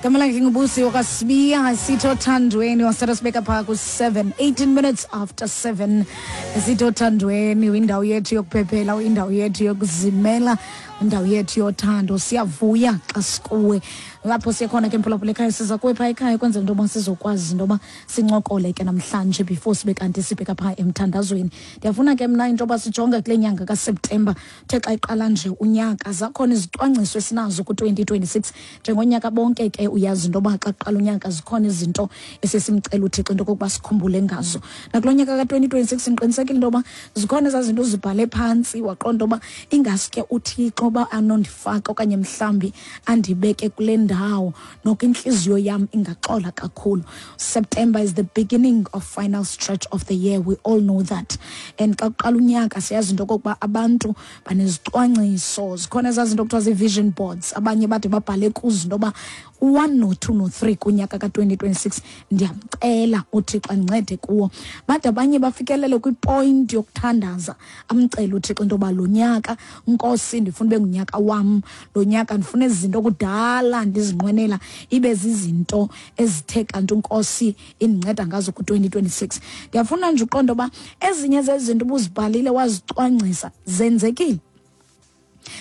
Gama lakhe nguBusi wakwaSibiya, sithi othandweni wasithatha sibeka phaa ku-7, 18 minutes after 7. Sithi othandweni, indawo yethu yokuphephela, indawo yethu yokuzimela, indawo yethu yothando. Siyavuya xa sikuwe lapho siye khona ke, mphulaphula ekhaya. Siza kuwe phaa ekhaya ukwenzela into yoba sizokwazi into yoba sincokole ke namhlanje before sibe kanti sibheka phaa emthandazweni. Ndiyafuna ke mna into yoba sijonge kule nyanga kaSeptemba. Uthe xa iqala nje unyaka, zakhona izicwangciso esinazo ku-2026 njengonyaka bonke ke. Uyazi into yoba xa kuqala unyaka zikhona izinto esiye simcela uThixo into okokuba sikhumbule ngazo. Nakulo nyaka ka-2026 ndiqinisekile into yoba zikhona ezaa zinto uzibhale phantsi, waqonda uba ingaske uThixo uba anondifaka okanye mhlawumbi andibeke kule ndawo, noko intliziyo yam ingaxola kakhulu. September is the beginning of final stretch of the year, we all know that. And xa kuqala unyaka siyazi into okokuba abantu banezicwangciso, zikhona ezaa zinto kuthiwa zii-vision boards, abanye bade babhale kuzo into yoba u-one no-two no-three kunyaka ka-2026 ndiyamcela uThixo andincede kuwo. Bade abanye bafikelele kwipoint yokuthandaza, amcele uThixo into yoba lo nyaka, Nkosi, ndifuna ube ngunyaka wam, lo nyaka ndifuna ezi zinto kudala ndizinqwenela ibe zizinto ezithe kanti uNkosi indinceda ngazo ku-2026. Ndiyafuna nje uqonda uba ezinye zezinto ubuzibhalile wazicwangcisa zenzekile.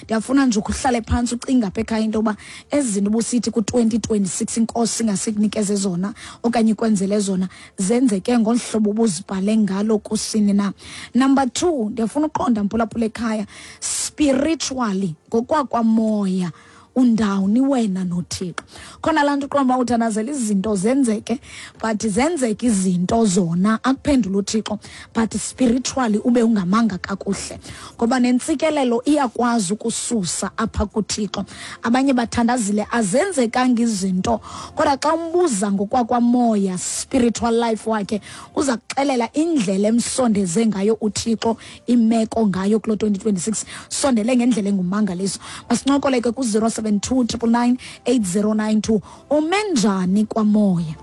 Ndiyafuna nje ukuhlale phantsi ucinga apha ekhaya into yoba ezi zinto ubusithi ku-2026 iNkosi ingasikunikeze zona okanye ikwenzele zona zenzeke ngolu hlobo ubuzibhale ngalo kusini na. Number two, ndiyafuna uqonda, mphulaphula ekhaya, spiritually, ngokwakwamoya, undawuni wena noThixo? Khona laa nto uqonda uba uthandazela izinto zenzeke, but zenzeke izinto zona, akuphendula uThixo, but spiritually ube ungamanga kakuhle, ngoba nentsikelelo iyakwazi ukususa apha kuThixo. Abanye bathandazile, azenzekanga izinto, kodwa xa umbuza ngokwakwamoya, spiritual life wakhe, uza kuxelela indlela emsondeze ngayo uThixo imeko ngayo kulo 2026, sondele ngendlela engumangaliso. Masincokole ke ku-072 999 8092. Ume njani kwamoya?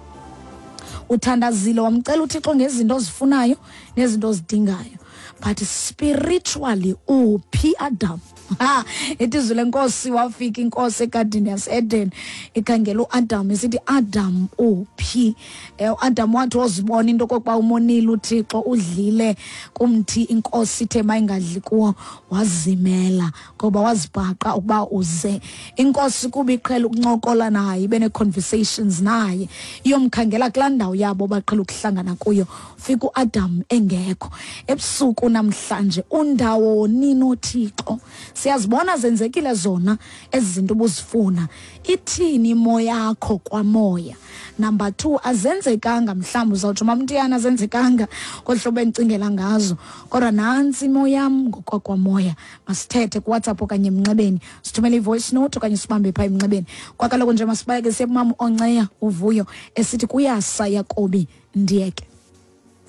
Uthandazile, wamcela uThixo ngezinto ozifunayo nezinto ozidingayo, but spiritually uphi, Adam? Ha, ithi izwi leNkosi, wafika iNkosi egadini yaseEden, ikhangela uAdam, isithi, "Adam, uphi?" UAdam wathi wozibona into okokuba umonile uThixo, udlile kumthi iNkosi ithe mayingadli kuwo, wazimela ngoba wazibhaqa ukuba uze. INkosi kuba iqhela ukuncokola naye, ibe nee-conversations naye, iyomkhangela kulaa ndawo yabo baqhela ukuhlangana kuyo, fika uAdam engekho. Ebusuku namhlanje, undawoni noThixo? Siyazibona zenzekile zona ezi zinto ubuzifuna? Ithini imo yakho kwamoya? Number two, azenzekanga, mhlawumbi uzawutsho, "Mamntiyana, azenzekanga ngolu hlobo endicingela ngazo, kodwa nantsi imo yam ngokwakwamoya." Masithethe kuWhatsApp okanye emnxebeni, sithumele i-voice note okanye sibambe phaa emnxebeni. Kwakaloku nje masibaleke siye kumama Onceya uvuyo esithi kuyasa Yakobi ndiyeke.